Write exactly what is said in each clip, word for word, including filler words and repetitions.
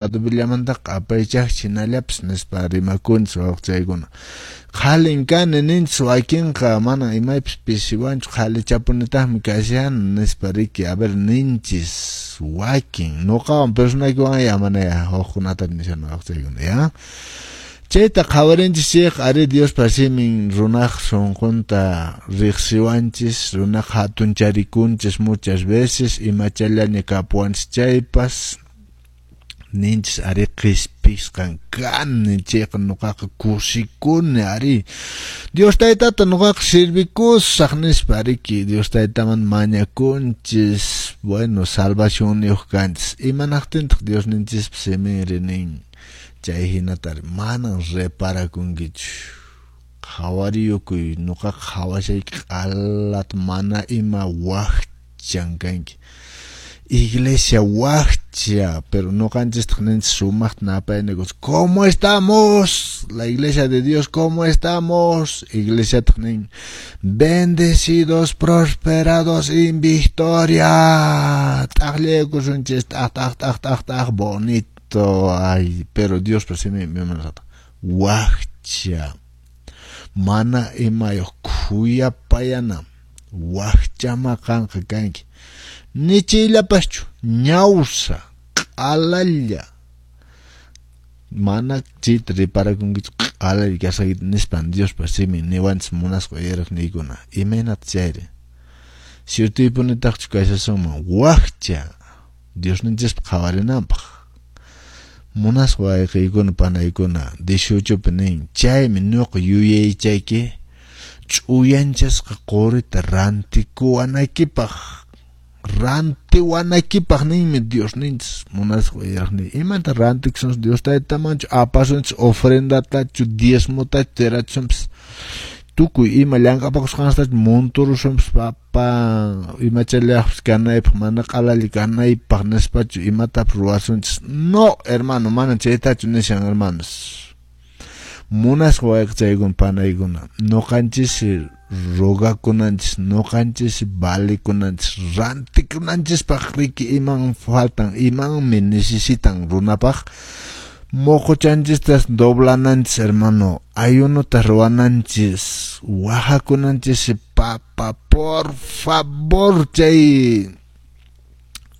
Adubillamantaqa apaychaqchis hinallapas nispa rimakunchis wawqichaykuna. Qhalin kani ninchis wakinqa mana imaypis pisiwanchu qhalichapunitaqmi kashan nispa riki a ver ninchis wakin nuqawan personaykiwan ya mana ya hukkunata nishan wawqichaykuna ya. Chayta qhawarinchis chayqa ari Diospa simin runaq sunqunta riqsiwanchis, runaq hatuncharikunchis muchas veces imachallaña kapuwanchis chaypas ninchis ari qhispisqan kani chayqa nuqaqa kusikuni ari Dios taytata nuqaqa servikusaq nispa riki Dios taytaman mañakunchis bueno salvacionniyuq kanchis imanaqtintaq Diosninchispa siminri nin chay hinatari manan reparakunkichu qhawariyukuy nuqaqa qhawashayki q'alata mana ima wakchan kanki iglesia wakcha pero nuqanchistaq ninchis sumaqta napaynikus ¿cómo estamos? La iglesia de Dios ¿cómo estamos? Iglesiataq nin bendecidos, prosperados en victoria t'aqllaykusunchis t'aq t'aq t'aq t'aq t'aq bonito ay pero Diospa siminpi wakcha mana imayuq khuyapayana wakchama qanqa kanki nichiyllapaschu ñawsa q'alalla mana chayta reparakunkichu q'alalla kasqaykita nispan Diospa simin niwanchis munasqa uyariqniykuna imaynata chayri ciertoypunitaqchu kashasunman wakcha Diosninchispa qhawarinanpaq munasqa wayqiykuna panaykuna dieciochopi nin chaymi ñuqa yuyaychayki ch'uyanchasqa qurita rantikuwanaykipaq rantiwanaykipaq ninmi Diosninchis munasqa uyariqniy imanta rantikusunchis Dios taytamanchu apasunchis ofrendatachu diezmotachu tirachisunpis tukuy ima llank'apakusqanstachu monturusunpis papa imachallaqpis kanaypaq mana q'alalla kanaypaq nispachu imatapas ruwasunchis no hermano mana chaytachu nishan hermanos munasqa wayqichaykuna panaykuna nuqanchis rogakunanchis nuqanchis valikunanchis rantikunanchispaq riki iman faltan imanmi necesitan runapaq moqochanchistas doblananchis hermano ayunota ruwananchis wajakunanchis papa por favor chay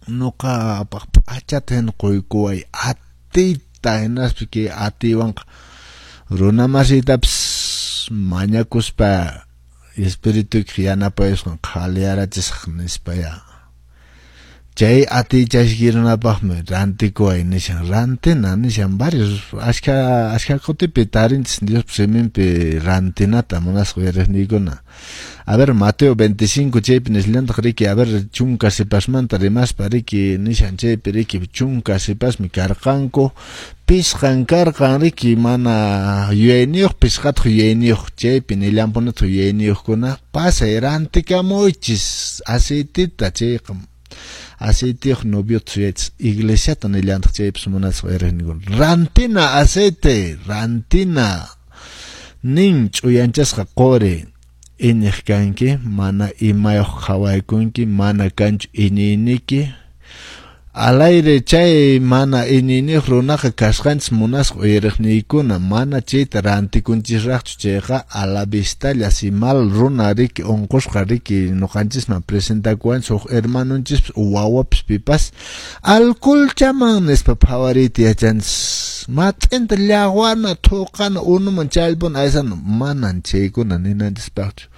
nuqapaq p'achata hina quykuway atiyta hinaspa kay atiywanqa runamasiytapas mañakuspa espirituykiq yanapayusqan qhaliyarachisaq nispa ya chay atiy runapaqmi rantikuway nishan rantina nishan varios ashka ashka kutipi tarinchis Diospa siminpi rantinata munasqa uyariqniykuna a ver Mateo veinticinco chaypi nishallantaq riki a ver chunka sipasmanta rimaspa riki nishan chaypi riki chunka sipasmi karqanku pisqan karqan riki mana yuyayniyuq pisqataq yuyayniyuq chaypi nillanpunataq yuyayniyuqkuna pasay rantikamuychis aceitita chayqa aceitiyuq noviota suyaychis iglesiata nillantaq chaypis munasqa uyariqniykuna rantina aceite rantina nin ch'uyanchasqa quri iñiq kanki mana imayuq qhawaykunki mana kanchu iñiyniki alayri chay mana iñiyniyuq runaqa kasqanchis munasqa uyariqniykuna mana chayta rantikunchisraqchu chayqa a la vistalla si mal runa riki unqusqa riki nuqanchisman presentakuwanchis huk hermanonchispas wawapas pipas alcoholchaman nispa phawariyta yachanchis mat'inta llaqwana thuqana unuman challpuna aysana manan chaykuna ninanchispaqchu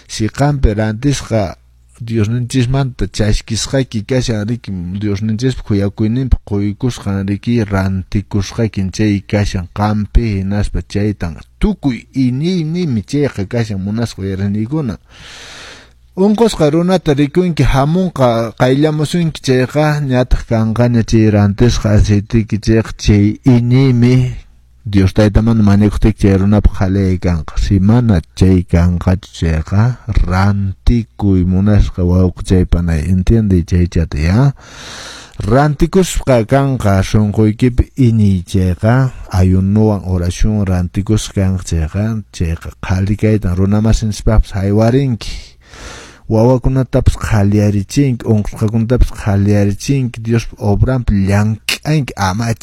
si qampi rantisqa Diosninchismanta chaskisqayki kashan riki Diosninchispa khuyakuyninpi quykusqan riki rantikusqaykin chay kashan qampi hinaspa chaytan tukuy iñiynimi chayqa kashan munasqa uyariqniykuna unqusqa runata rikunki hamunqa qayllamusunki chayqa ñataq kanqaña chay rantisqa aceiteyki chayqa chay iñiymi Dios taytamanta mañakuqtiyki chay runapaq qhaliyay kanqa si mana chay kanqachu chayqa rantikuy munasqa wawqichay panay entiende chaychata ya rantikusqa kanqa sunquykipi iñiy chayqa ayunuwan oración rantikusqa kanqa chayqa chayqa qhali kaytan runamasinchispaqpas haywarinki wawakunatapas qhaliyarichinki unqusqakunatapas qhaliyarichinki Diospa obranpi llank'ay llank'anki ama